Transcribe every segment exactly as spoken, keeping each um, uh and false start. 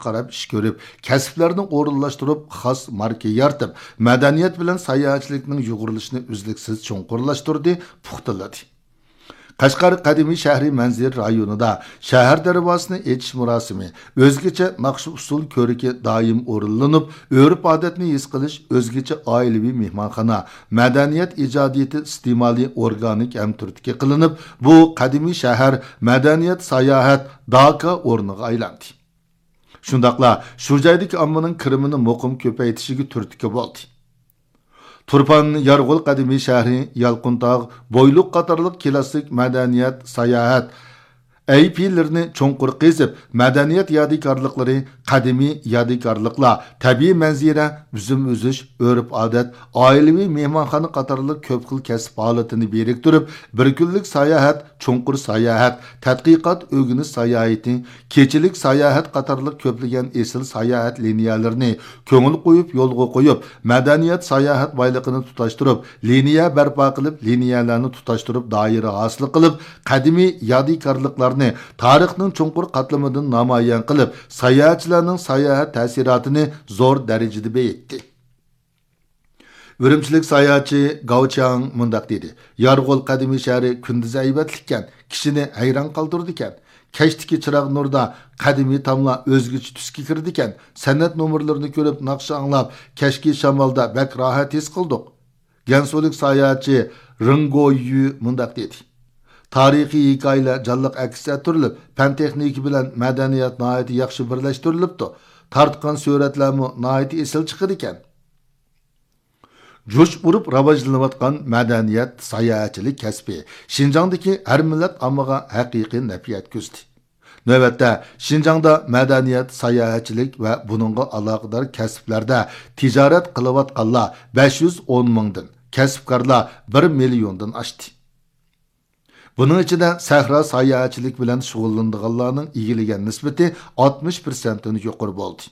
قاراپ ئىش كۆرۈپ، كەسىپلەرنى ئورۇنلاشتۇرۇپ، خاس ماركا يارىتىپ، مەدەنىيەت بىلەن ساياھەتچىلىكنىڭ يۇغۇرۇلۇشىنى ئۈزلۈكسىز چوڭقۇرلاشتۇردى، پۇختىلىدى. قەشقەر قەدىمىي شەھىرى مەنزىرە رايونىدا شەھەر دەرۋازىسىنى ئېچىش مۇراسىمى، ئۆزگىچە ناخشا-ئۇسسۇل كۆركى دائىم ئورۇنلىنىپ، ئۆرپ-ئادەتنى ھېس قىلىش، ئۆزگىچە ئائىلىۋى مېھمانخانا، مەدەنىيەت ئىجادىيىتى ئىستېمالى ئورگانىك ھەمتۈرتكە قىلىنىپ، بۇ قەدىمىي شەھەر مەدەنىيەت ساياھەت داكا ئورنىغا ئايلاندى. شۇنداقلا شۇ جايدىكى ئاممىنىڭ كىرىمىنى مۇقىم كۆپەيتىشىگە تۈرتكە بولدى. تۇرپان يارغول قەدىمىي شەھىرى، يالقۇنتاغ، بويلۇق قاتارلىق كلاسسىك مەدەنىيەت، ساياھەت ئەي پىلىرىنى چوڭقۇر قېزىپ، مەدەنىيەت يادىكارلىقلىرى، قەدىمىي يادىكارلىقلار، تەبىئىي مەنزىرە، ئۈزۈم ئۈزۈش، ئۆرپ-ئادەت، ئائىلىۋى مېھمانخانا قاتارلىق كۆپ خىل كەسىپ ھالىتىنى بىرىكتۈرۈپ، بىر كۈنلۈك ساياھەت، چوڭقۇر ساياھەت، تەتقىقات ئۆگىنىش ساياھىتى، كېچىلىك ساياھەت قاتارلىق كۆپلىگەن ئېسىل ساياھەت لىنىيەلىرىنى كۆڭۈل قويۇپ يولغا قويۇپ، مەدەنىيەت ساياھەت بايلىقىنى تۇتاشتۇرۇپ، لىنىيە بەرپا قىلىپ، لىنىيەلەرنى تۇتاشتۇرۇپ، دائىرە ھاسىل قىلىپ، قەدىمىي يادىكارلىقلارنى تارىخنىڭ چوڭقۇر قاتلىمىدىن نامايان قىلىپ، ساياھەتچىلەرنىڭ ساياھەت تەسىراتىنى زور دەرىجىدە بېيىتتى. ئۈرۈمچىلىك ساياھەتچى گاۋ چياڭ مۇنداق دېدى: يارغول قەدىمىي شەھىرى كۈندۈزى ھەيۋەتلىككەن، كىشىنى ھەيران قالدۇرىدىكەن. كەچتىكى چىراغ نۇردا قەدىمىي تاملار ئۆزگىچە تۈسكە كىرىدىكەن. سەنئەت نومۇرلىرىنى كۆرۈپ، ناخشا ئاڭلاپ، كەچكى شامالدا بەك راھەت ھېس قىلدۇق. گەنسۇلۇق ساياھەتچى رېڭ گويۈ مۇنداق دېدى: تارىخىي ھېكايىلەر جانلىق ئەكس ئەتتۈرۈلۈپ، پەن تېخنىكا بىلەن مەدەنىيەت ناھايىتى ياخشى بىرلەشتۈرۈلۈپتۇ. تارتقان سۈرەتلەرمۇ ناھايىتى ئېسىل چىقىدىكەن. جۇش ئۇرۇپ راۋاجلىنىۋاتقان مەدەنىيەت، ساياھەتچىلىك كەسپى شىنجاڭدىكى ھەر مىللەت ئاممىغا ھەقىقىي نەپ يەتكۈزدى. نۆۋەتتە، شىنجاڭدا مەدەنىيەت، ساياھەتچىلىك ۋە بۇنىڭغا ئالاقىدار كەسىپلەردە تىجارەت قىلىۋاتقانلار بەش يۈز ئون مىڭدىن، كەسىپكارلار بىر مىليوندىن ئاشتى. بۇنىڭ ئىچىدە سەھرا ساياھەتچىلىكى بىلەن شۇغۇللىنىدىغانلارنىڭ ئىگىلىگەن نىسبىتى ئاتمىش پىرسەنتتىن يۇقىرى بولدى.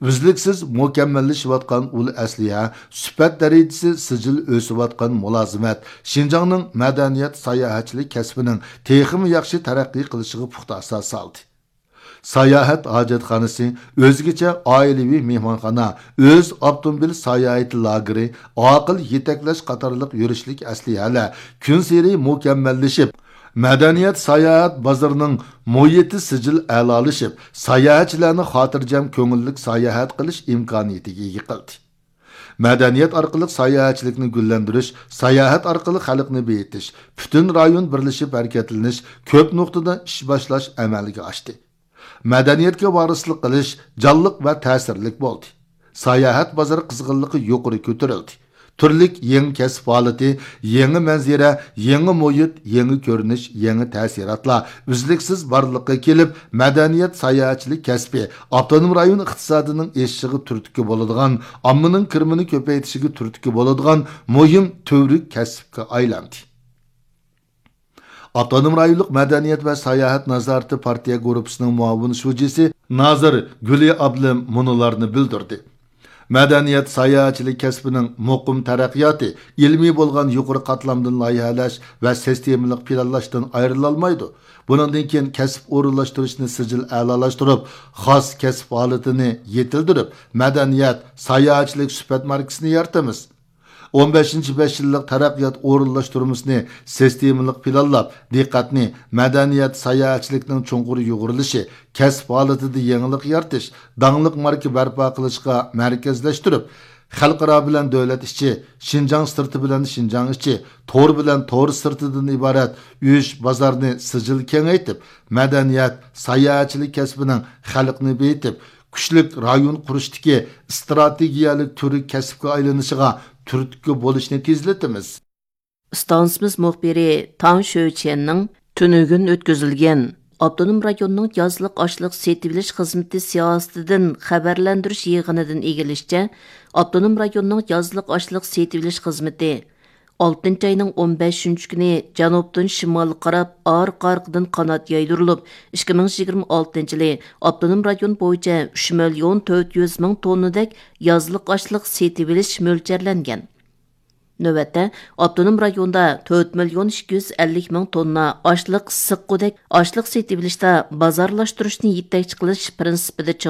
ئۈزلۈكسىز مۇكەممەللىشىۋاتقان ئۇل ئەسلىھە، سۈپەت دەرىجىسى سىجىل ئۆسۈۋاتقان مۇلازىمەت شىنجاڭنىڭ مەدەنىيەت ساياھەتچىلىك كەسپىنىڭ تېخىمۇ ياخشى تەرەققىي قىلىشىغا پۇختا ئاساس سالدى. ساياھەت ھاجەتخانىسى، ئۆزگىچە ئائىلىۋى مېھمانخانا، ئۆز ئاپتوموبىل ساياھىتى لاگېرى، ئاقىل يېتەكلەش قاتارلىق يۈرۈشلۈك ئەسلىھەلەر كۈنسېرى مۇكەممەللىشىپ، مەدەنىيەت ساياھەت بازىرىنىڭ مۇھىتى سىجىل ئەلالىشىپ، ساياھەتچىلەرنى خاتىرجەم كۆڭۈللۈك ساياھەت قىلىش ئىمكانىيىتىگە ئىگە قىلدى. مەدەنىيەت ئارقىلىق ساياھەتچىلىكنى گۈللەندۈرۈش، ساياھەت ئارقىلىق خەلقنى بېيىتىش، پۈتۈن رايون بىرلىشىپ ھەرىكەتلىنىش، كۆپ نۇقتىدا ئىش باشلاش ئەمەلگە ئاشتى. مەدەنىيەتكە ۋارىسلىق قىلىش جانلىق ۋە تەسىرلىك بولدى. ساياھەت بازىرى قىزغىنلىقى يۇقىرى كۆتۈرۈلدى. تۈرلۈك يېڭى كەسىپ ھالىتى، يېڭى مەنزىرە، يېڭى مۇھىت، يېڭى كۆرۈنۈش، يېڭى تەسىراتلار ئۈزلۈكسىز بارلىققا كېلىپ، مەدەنىيەت ساياھەتچىلىك كەسپى ئاپتونوم رايون ئىقتىسادىنىڭ ئېشىشىغا تۈرتكە بولىدىغان، ئاممىنىڭ كىرىمىنى كۆپەيتىشىگە تۈرتكە بولىدىغان مۇھىم تۈۋرۈك كەسىپكە ئايلاندى. ئاپتونوم رايونلۇق مەدەنىيەت ۋە ساياھەت نازارىتى پارتىيە گۇرۇپپىسىنىڭ مۇئاۋىن شۇجىسى نازىر گۈلى ئابلىم مۇنۇلارنى بىلدۈردى: مەدەنىيەت ساياھەتچىلىك كەسپىنىڭ مۇقىم تەرەققىياتى ئىلمىي بولغان يۇقىرى قاتلامدىن لايىھەلەش ۋە سىستېمىلىق پىلانلاشتىن ئايرىلالمايدۇ. بۇنىڭدىن كېيىن كەسىپ ئورۇنلاشتۇرۇشنى سىجىل ئەلالاشتۇرۇپ، خاس كەسىپ ھالىتىنى يېتىلدۈرۈپ، مەدەنىيەت، ساياھەتچىلىك سۈپەت ماركىسىنى يارىتىمىز. ئون بەشىنچى بەش يىللىق تەرەققىيات ئورۇنلاشتۇرمىسىنى سىستېمىلىق پىلانلاپ، دىققەتنى مەدەنىيەت، ساياھەتچىلىكنىڭ چوڭقۇر يۇغۇرۇلۇشى، كەسىپ ھالىتىدە يېڭىلىق يارىتىش، داڭلىق ماركا بەرپا قىلىشقا مەركەزلەشتۈرۈپ، خەلقئارا بىلەن دۆلەت ئىچى، شىنجاڭ سىرتى بىلەن شىنجاڭ ئىچى، تور بىلەن تور سىرتىدىن ئىبارەت ئۈچ بازارنى سىجىل كېڭەيتىپ، مەدەنىيەت، ساياھەتچىلىك كەسپىنىڭ خەلقنى بېيىتىپ، كۈچلۈك رايون قۇرۇشتىكى ئىستراتېگىيەلىك تۈۋرۈك كەسىپكە ئايلىنىشىغا تۈرتكە بولۇشنى تېزلىتىمىز. ئىستانسىمىز مۇخبىرى تاڭ شۆچيەننىڭ تۈنۈگۈن ئۆتكۈزۈلگەن ئاپتونوم رايوننىڭ يازلىق ئاشلىق سېتىۋېلىش خىزمىتى سىياسىتىدىن خەۋەرلەندۈرۈش يىغىنىدىن ئىگىلىشىچە، ئاپتونوم رايوننىڭ يازلىق ئاشلىق سېتىۋېلىش خىزمىتى ئالتىنچى ئاينىڭ ئون بەشىنچى كۈنى جەنۇبتىن شىمالغا قاراپ ئارقا-ئارقىدىن قانات يايدۇرۇلۇپ، ئىككى مىڭ يىگىرمە ئالتىنچى يىلى ئاپتونوم رايون بويىچە ئۈچ مىليون تۆت يۈز مىڭ توننىدەك يازلىق ئاشلىق سېتىۋېلىش مۆلچەرلەنگەن. نۆۋەتتە، ئاپتونوم رايوندا تۆت مىليون ئىككى يۈز ئەللىك مىڭ توننا ئاشلىق سىققۇدەك ئاشلىق سېتىۋېلىشتا بازارلاشتۇرۇشنى يېتەكچى قىلىش پىرىنسىپىدا چىڭ